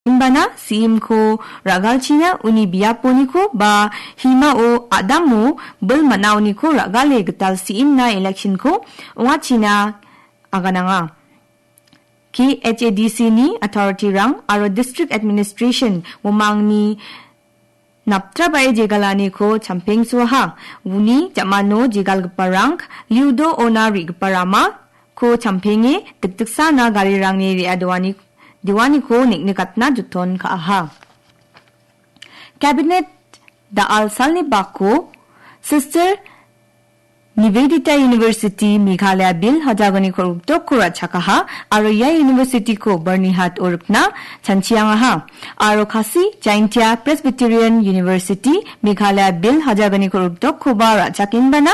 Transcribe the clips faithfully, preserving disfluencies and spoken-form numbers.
Inbana C M-ko ra·galchina uni biaponiko ba himao adamo bil man·aoniko ra·gale gital C M-na election-ko ong·achina agananga. K H A D C-ni authority-rang aro district administration uamangni naptrabae jegalaniko champengsoaha. Uni ja·mano jegalgiparang Liudo ona re·gipa ramako champenge dikdiksana garirangni re·a doani-, doaniko neng·nikatna joton ka·aha. Cabinet da·al salni bako Sister Nivedita University Meghalaya Bill hajalgni kolgriktokko ra·chakaha aro ia university-ko Byrnihat-o rikna chanchiangaha. Aro Khasi Jaintia Presbyterian University Meghalaya Bill hajalgni kolgriktokkoba ra·chakenbana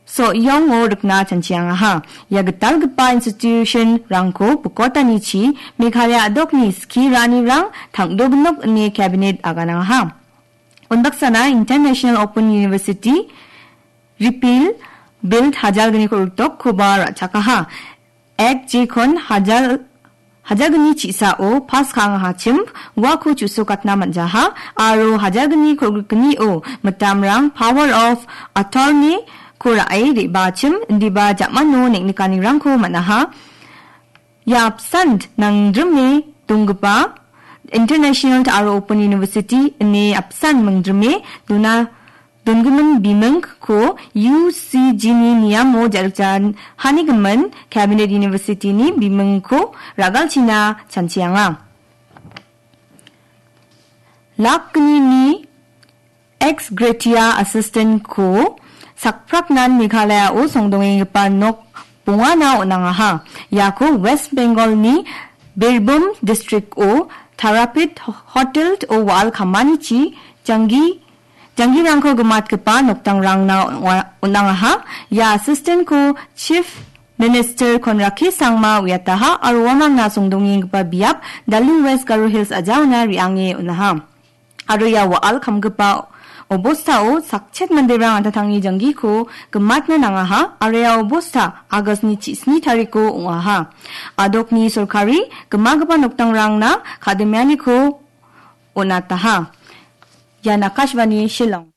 So·yong-o rikna chanchiangaha. Ia gitalgipa institution-rangko bikotanichi Meghalaya a·dokni skie ra·anirang tangdoginok ine cabinet aganangaha. Unbaksana International Open University Repeal Bill hajalgniko rikdokkoba ra·chakaha. Ek jekon hajal-, hajalgni chisao pass ka·angahachim uako chu·sokatna man·jaha aro hajalgni kolgrikgnio mitamrang power of attorney-ko ra·e re·baachim indiba ja·mano neng·nikanirangko man·aha. Ia apsan nangdrime donggipa International aro Open University ine apsan mingdrime dona-, dongimin bimingko U C G-ni niamo ja·rikjanhanigimin Cabinet University-ni bimingko ra·galchina chanchianga. Lakgnini ex gratia assistant-ko sakpraknan Meghalaya-o songdongenggipa nok bongana on·angaha. Iako West Bengal-ni Birbhum district-o Tarapit Hotel-o wa·al kamanichi janggi-, janggirangko gimatgipa nokdangrangna on-, on·angaha. Ia assistant-ko Chief Minister Conrad K Sangma uiataha aro uamangna songdongenggipa biap Darling West Garo Hills a·jaona re·ange on·aha. Aro ia wa·al kamgipa obostao sakchet manderang an·tangtangni janggiko gimatna nangaha aro ia obosta August-ni chisni tariko ong·aha. A·dokni sorkari gimagipa nokdangrangna kadimianiko on·ataha. Ian Akashvani Shillong.